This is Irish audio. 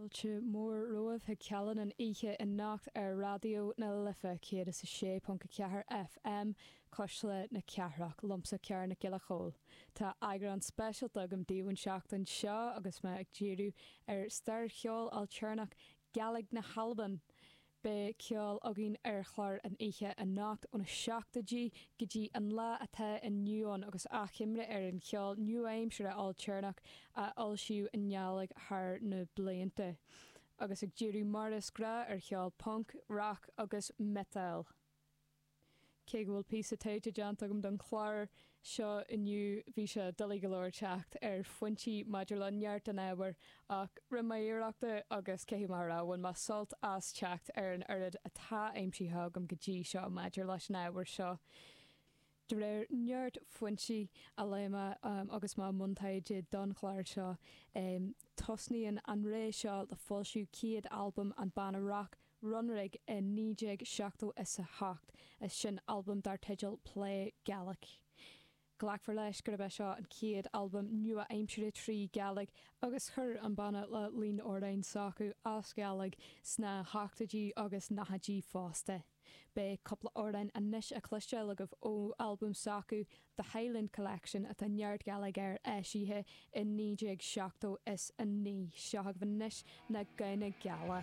Fáilte mhór romhaibh chuig Cealann an oíche anocht ar Raidió na Life 106.4 FM, Cuisle na Cathrach, liomsa Ciara Nic Giolla Chóill. Tá eagrán speisialta agam daoibh an tseachtain seo agus mé ag díriú ar stair cheol ailtéarnach Gàidhlig na hAlban. Beidh ceol againn ar chlár an oíche anocht óna seachtóidí go dtí an lá atá inniu ann agus achoimre ar an cheol nua-aimseartha ailtéarnach a foilsíodh i nGàidhlig thar na blianta. Agus ag díriú mar is gnáth ar cheol punc, rac agus miotal. Cé go bhfuil píosa taighde déanta agam don chlár seo inniu, bhí sé doiligh go leor teacht ar foinsí maidir le neart den ábhar, ach rinne mé iarracht agus caithfidh mé a rá, bhain mé sult as teacht ar an oiread atá aimsithe agam go dtí seo maidir leis an ábhar seo. De réir neart foinsí a léigh mé agus mé i mbun taighde don chlár seo, tosnaíonn an ré seo le foilsiú chéad albam an banna rac Runrig i 1978, is sin albam dar teideal Play Gaelic. Glacfar leis gurb é seo an chéad albam nua-aimseartha trí Gàidhlig agus chuir an banna le líon amhráin s'acu as Gàidhlig sna hochtóidí agus nóchaidí fosta. Beidh cúpla amhrán anois á cloisteáil agaibh ó albam s'acu, The Highland Collection, atá neart Gàidhlig air, eisithe i 1979. Seo agaibh anois Na Gamhna Geala.